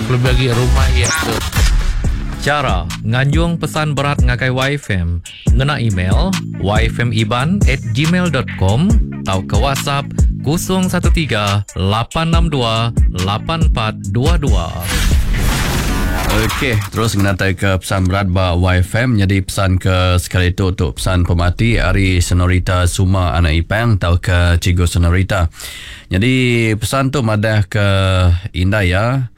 Kelebih agi rumah iya ke. Chara nganjung pesan berat ngagai YFM ngena email yfmiban@gmail.com tauka WhatsApp 013 862 8422. Okey, terus ngenatai ke pesan berat ba YFM nyadi pesan ke sekali tu tu pesan pemati ari Senorita Suma anak Ipang tauka Cikgu Senorita. Nyadi pesan tu madah ke indai iya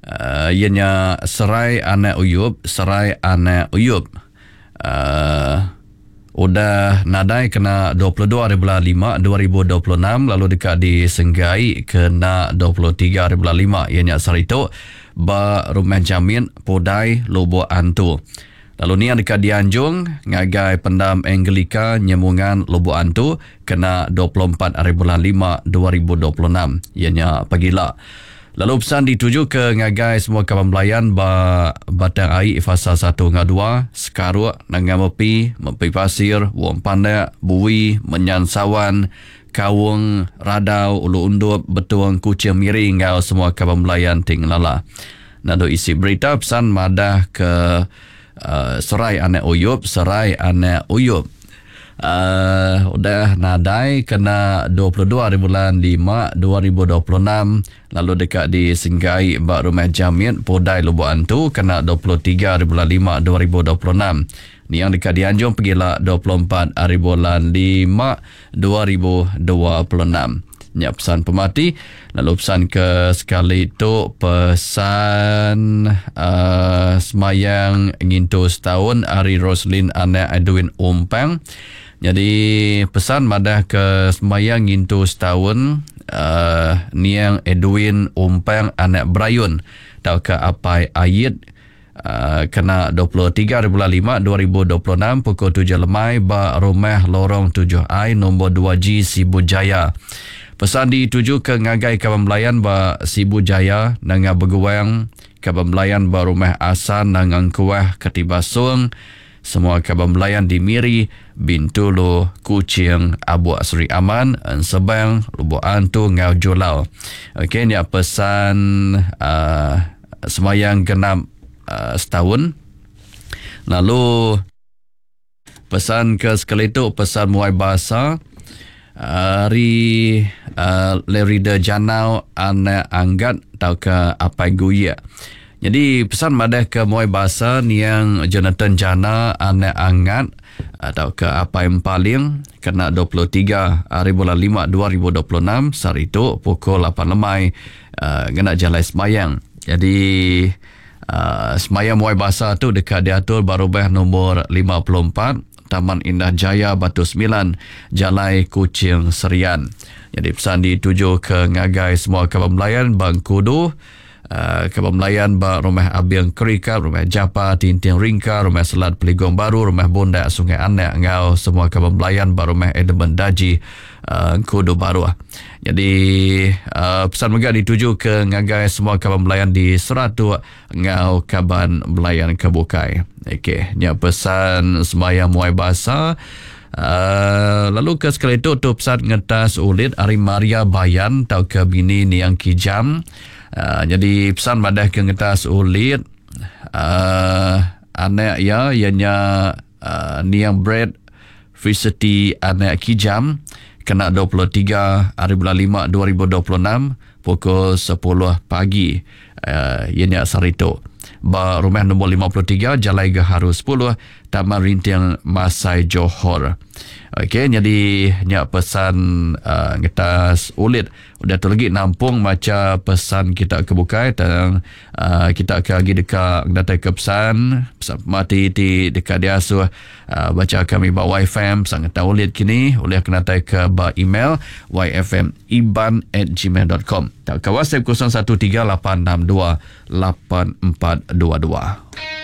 uh, iya nya Serai anak Uyup, Serai anak Uyup. Uh, udah nadai kena 22 hari bulan 5 2026 lalu deka disenggai kena 23 hari bulan 5 iya nya sehari tu ba Rumah Jamit Pudai Lubok Antu. Lalu niang deka dianjung ngagai Pendam Anglika Nyemungan Lubok Antu kena 24 hari bulan 5 2026 iya nya pagila. Lalu pesan ditujuka ngagai semua kaban belayan ba Batang Ai Fasa satu enggau dua, Sekaruk, Nanga Mepi, Mepi Pasir, Wong Pandak, Bui, Menyan Sawan, Kaung, Radau, Ulu Undup, Betong, Kuching Miri enggau semua kaban belayan ti ngelala. Lalu isi berita pesan madah ke uh, Serai Anak Uyup, Serai Anak Uyup. Uh, udah nadai kena 22 hari bulan 5 2026 lalu deka disenggai ba Rumah Jamit Pudai Lubok Antu kena 23 hari bulan 5 2026. Niang deka dianjung pegila 24 hari bulan 5 2026. Nya pesan pemati lalu pesan ke sekali tu pesan uh, semayang ngintu setahun ari Roslin anak Edwin Umpang. Jadi pesan madah ke semayang ngintu setahun uh, niang Edwin Umpang anak Brayun tauka apai Ayit uh, kena 23 hari bulan 5 2026 pukul 7 lemai ba rumah Lorong 7I nombor 2G Sibu Jaya. Pesan dituju ke ngagai kaban belayan ba Sibu Jaya, Nanga Beguang, kaban belayan ba rumah Asan Nanga Engkuah Ketibasung, semua kaban belayan di Miri, Bintulu, Kuching, Abuk Seri Aman, Ensebang, Lubok Antu enggau Julau. Okey nya pesan uh, semayang genap uh, setahun. Lalu pesan ke sekali tu pesan muai bahasa ari uh, Larry De Janau anak Anggat tauka Apai Guyek. Jadi pesan madah ke muai bahasa niang Jonathan Jana anak Angat tauka Apai Empaling kena 23 hari bulan 5 2026 sehari tu pukul 8 lemai uh, ngena jalai semayang. Jadi uh, semayang muai bahasa tu deka diatur ba rumah nombor 54 Taman Indah Jaya Batu 9 Jalai Kuching Serian. Jadi pesan dituju ke ngagai semua kaban belayan Bangkudu, uh, kaban belayan ba Rumah Abing Kerika, Rumah Japa, Tinting Ringka, Rumah Selat Peligong Baru, Rumah Bundak Sungai Anak enggau semua kaban belayan ba Rumah Edmund Daji uh, Engkudu Baru. Jadi uh, pesan mega dituju ke ngagai semua kaban belayan di Seratuk enggau kaban belayan ke bukai. Okey, nya pesan sembahyang muai basa. Uh, lalu ke sekali tu tu pesan ngetas ulit ari Maria Bayan tauka bini Niang Kijam. Uh, jadi pesan madah ke ngetas ulit uh, anak iya ianya uh, Niang Brad Felicity anak Kijam kena 23 hari bulan 5 2026 pukul 10 pagi uh, ianya sehari tu ba rumah nombor 53 Jalai Gaharu 10 Taman Rinting Masai Johor. Okey, jadi nya pesan uh, ngetas ulit. Udah tu lagi nampung maca pesan kita ke bukai tang uh, kita ke agi deka datai ke pesan pesan pemati ti deka diasuh uh, baca kami ba YFM pesan ngetas ulit kini ulih kena datai ke ba email yfmiban@gmail.com tauka WhatsApp 0138628422.